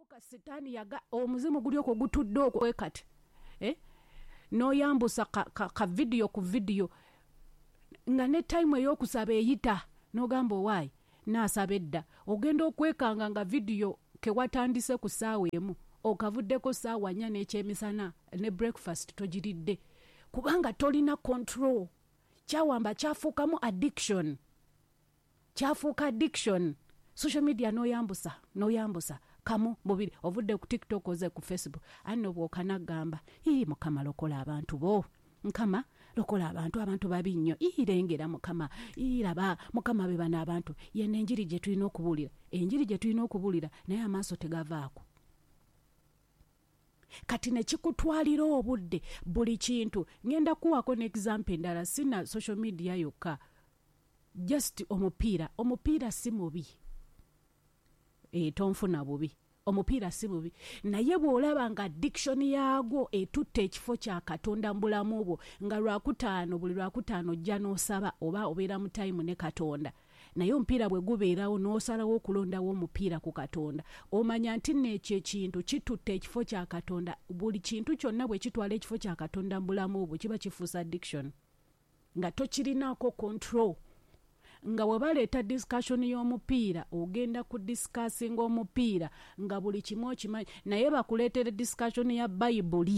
Gafuuka sitaani yaga omuzimu guli okwo gutudde okwo kati, eh? N'oyambusa ka vidiyo ku vidiyo nga ne time ey'okusaba eyita, n'ogamba, "Owaayi, naasaba edda." Ogenda okwekanga nga vidiyo kewatandise ku ssaawa 1 okavuddeko ssaawa 4 n'ekyemisana, ne breakfast togiridde, kubanga tolina control. Kyawamba, kyafuukamu addiction, kyafuuka addiction. Social media, n'oyambusa, n'oyambusa kamu, bubiri, ovudde ku TikTok, oze ku Facebook. Anno bw'okanagamba, "Ii, Mukama, lokola abantu bo. Mukama, lokola abantu, abantu babi nnyo. Ii, lengera Mukama, ii, laba Mukama, be bano abantu." Yeno enjiri gye tulina okubuulira, enjiri gye tulina okubuulira, naye amaaso tegavaako. Kati ne kikutwalira obudde, buli kintu. Ngenda kuwaako ne example endala, sina social media yokka, just omupiira. Omupiira si mubi, tonfuna bubi, omupiira si bubi, naye bw'olaba nga addiction yaagwo etutta ekifo kya Katonda mu bulamu bwo, nga Lwakutaano, buli Lwakutaano ojja n'osaba oba obeera mu time ne Katonda, naye omupiira bwe gubeerawo n'osalawo okulondawo omupiira ku Katonda, omanya nti nno ekyo ekintu kitutta ekifo kya Katonda. Buli kintu kyonna bwe kitwala ekifo kya Katonda mu bulamu bwo, kiba kifuusa addiction nga tokirinaako control. Nga bwe baleeta discussion y'omupiira, ogenda ku discussinga omupiira nga buli kimu okimanyi, naye bakuleetere discussion ya Bayibuli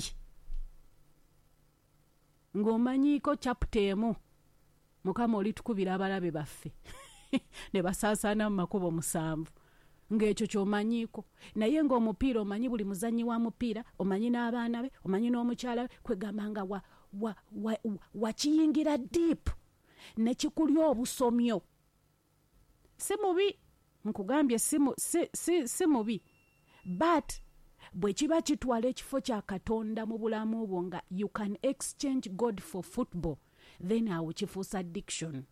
ng'omanyiiko chapter emu, "Mukama, olitukubira abalabe baffe ne basaasaana mu makubo musanvu," ng'ekyo ky'omanyiiko, naye ng'omupiira omanyi buli muzannyi wa mupiira, omanyi n'abaana be, omanyi n'omukyala we. Kwegamba nga wakiyingira wa, wa, wa deep ne kikulya obusomyo. Si mubi, nkugambye, si mubi, but bwe kiba kitwala ekifo kya Katonda mu bulamu bwo, nga you can exchange God for football, then awo kifuusa addiction,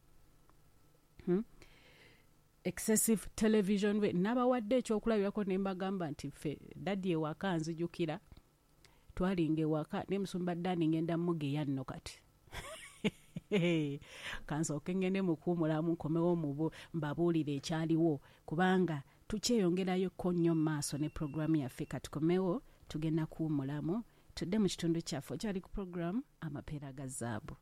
Excessive television we nabawadde ekyokulabirako ne mbagamba nti ffe daddy ewaka, nzijukira twalinga ewaka ne musumba Dani. Ngenda mugeya nno kati, kansooke ngende mukuwumulamu, nkomewo mubu mbabuulire ekyaliwo, kubanga tukyeyongerayo ko nnyo mu maaso ne puroguramu yaffe. Katukomewo, tugenda kuwumulamu, tudde mu kitundu kyaffe. Okyali ku puroguramu Amapeera ga Zaabu.